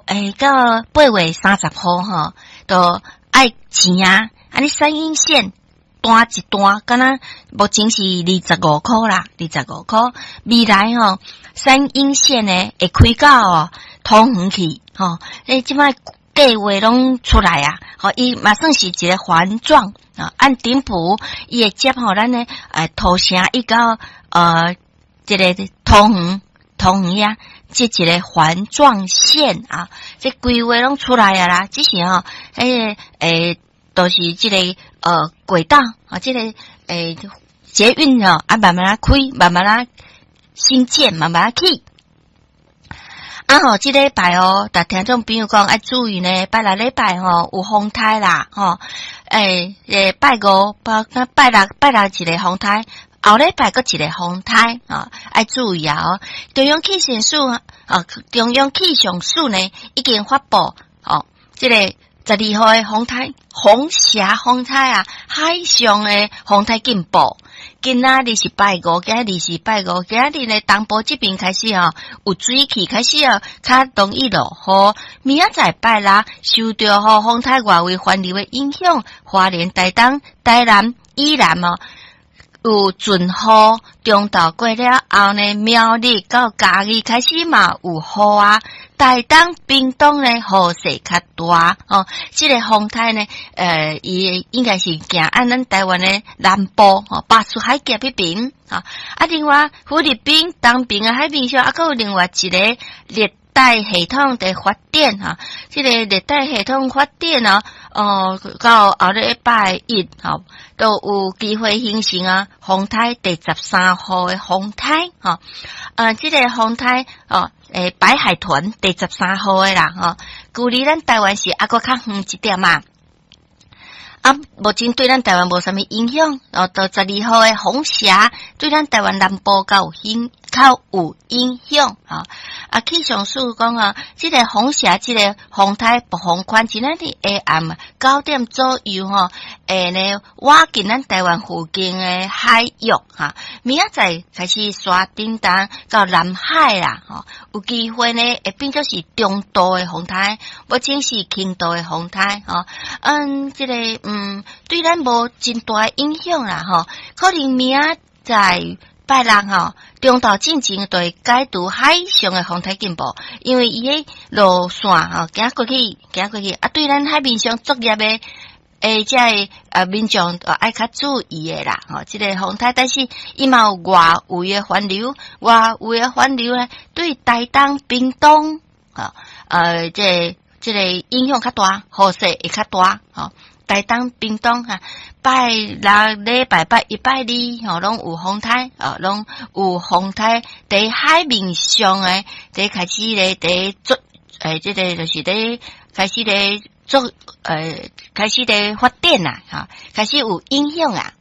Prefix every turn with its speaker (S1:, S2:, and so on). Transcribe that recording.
S1: 欸，到8月30號吼，都愛錢啊！按呢三鶯線單一段，敢若目前是25箍啦，二十五箍。未來吼，三鶯線呢會開到哦桃園去，吼，欸，這擺計劃攏出來啊！吼，伊嘛算是一個環狀啊，按頂埔伊會接吼咱的土城一到這个桃園。桃園遐，這一个環狀線啊，這規劃攏出來啊啦，只是吼，彼个都是這个軌道啊，這個捷運吼啊，慢慢仔開，慢慢仔興建，慢慢仔起。啊吼，這禮拜哦，逐聽眾朋友講愛注意呢，拜六禮拜吼有風颱啦，吼，拜五、拜六、拜六一個風颱。後禮拜閣一個風颱啊，愛注意啊！哦，中央氣象署啊，中央氣象署呢已經發布哦，這個12號的風颱，紅霞風颱啊，海上的風颱警報。今仔日是拜五，今日是拜五，今日呢東部這邊開始哦，有水氣開始哦，較容易落雨。明仔載拜六，受著吼風颱外圍環流的影響，花蓮、台東、台南、宜蘭哦，有陣雨，中晝過了後呢，苗栗到嘉義開始嘛有雨啊。台東、屏東呢，雨勢較大哦。這個風颱呢，伊應該是行按咱台灣的南部吼，巴士海峽彼邊啊。啊，另外菲律賓東邊的海面上，啊，閣有另外一個熱帶系統佇發展哈，這個熱帶系統發展哦，哦，到後禮拜一吼，都有機會形成啊風颱第13號的風颱吼，這個風颱哦，白海豚第十三號的啦吼，距離咱台灣是猶閣較遠一點嘛。啊，目前對咱台灣無啥物影響，哦，到十二號的紅霞對咱台灣南部較有影響啊。啊，氣象署講啊，這個紅霞，這個風颱暴風圈，今仔日下暗9點左右吼，會呢倚近咱台灣附近的海域哈。明仔載開始徙頂東到南海啦，吼，有機會呢會變做是中度的風颱，目前是輕度的風颱吼。嗯，這個對咱無真大影響啦，吼，可能明仔載拜六吼，中晝進前就會解除海上的風颱警報，因為伊的路線吼行過去，行過去啊，對咱海面上作業的這个民眾愛較注意的啦，吼，這個風颱，但是伊嘛有外圍的環流，外圍的環流呢，對台東、屏東，吼，這個影響較大，雨勢會較大，吼。台東、屏東哈，拜六禮拜拜一拜二吼，攏有風颱哦，攏有風颱。佇海面上的，佇開始咧，佇做，這個就是佇開始咧做，開始咧發展啦，哈，開始有影響啊。